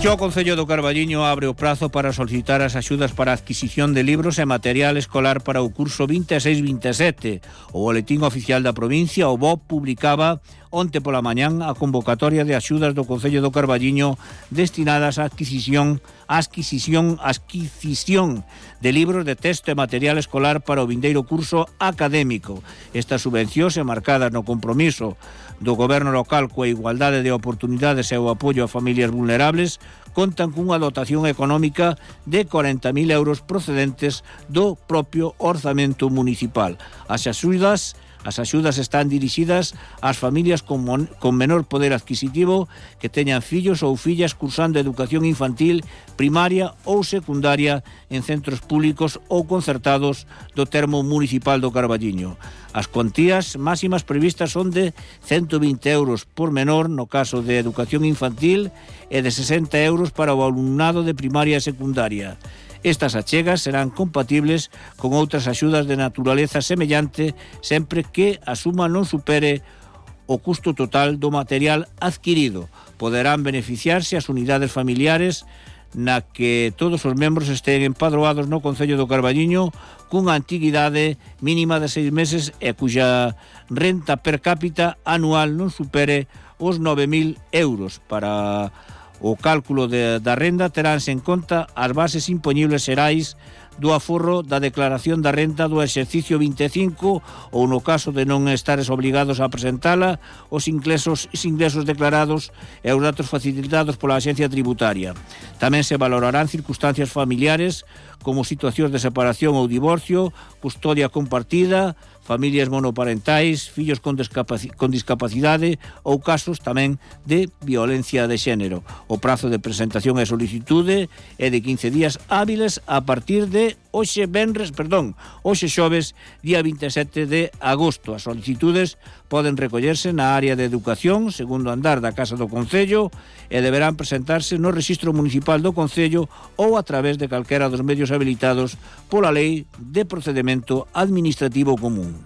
O Concello do Carballiño abre o prazo para solicitar as axudas para a adquisición de libros e material escolar para o curso 26-27. O Boletín Oficial da Provincia, o BOP, publicaba onte pola mañán a convocatoria de axudas do Concello do Carballiño destinadas á adquisición de libros de texto e material escolar para o vindeiro curso académico. Estas subvencións, marcadas no compromiso do Goberno local coa igualdade de oportunidades e o apoio a familias vulnerables, contan cunha dotación económica de 40.000 euros procedentes do propio orzamento municipal. As axudas están dirixidas ás familias con menor poder adquisitivo que teñan fillos ou fillas cursando educación infantil, primaria ou secundaria en centros públicos ou concertados do termo municipal do Carballiño. As cuantías máximas previstas son de 120 euros por menor no caso de educación infantil e de 60 euros para o alumnado de primaria e secundaria. Estas achegas serán compatibles con outras axudas de naturaleza semellante sempre que a suma non supere o custo total do material adquirido. Poderán beneficiarse as unidades familiares na que todos os membros estén empadroados no Concello do Carballiño cunha antiguidade mínima de 6 meses e cuxa renta per cápita anual non supere os 9.000 euros. Para o cálculo da renda teránse en conta as bases impoñibles xerais do aforro da declaración da renta do exercicio 25 ou, no caso de non estares obrigados a presentala, os ingresos declarados e os datos facilitados pola Axencia Tributaria. Tamén se valorarán circunstancias familiares como situacións de separación ou divorcio, custodia compartida, familias monoparentais, fillos con discapacidade ou casos tamén de violencia de xénero. O prazo de presentación e solicitude é de 15 días hábiles a partir de hoxe xoves, día 27 de agosto. As solicitudes poden recollerse na área de educación, segundo andar da Casa do Concello, e deberán presentarse no Rexistro Municipal do Concello ou a través de calquera dos medios habilitados pola Lei de Procedemento Administrativo Común.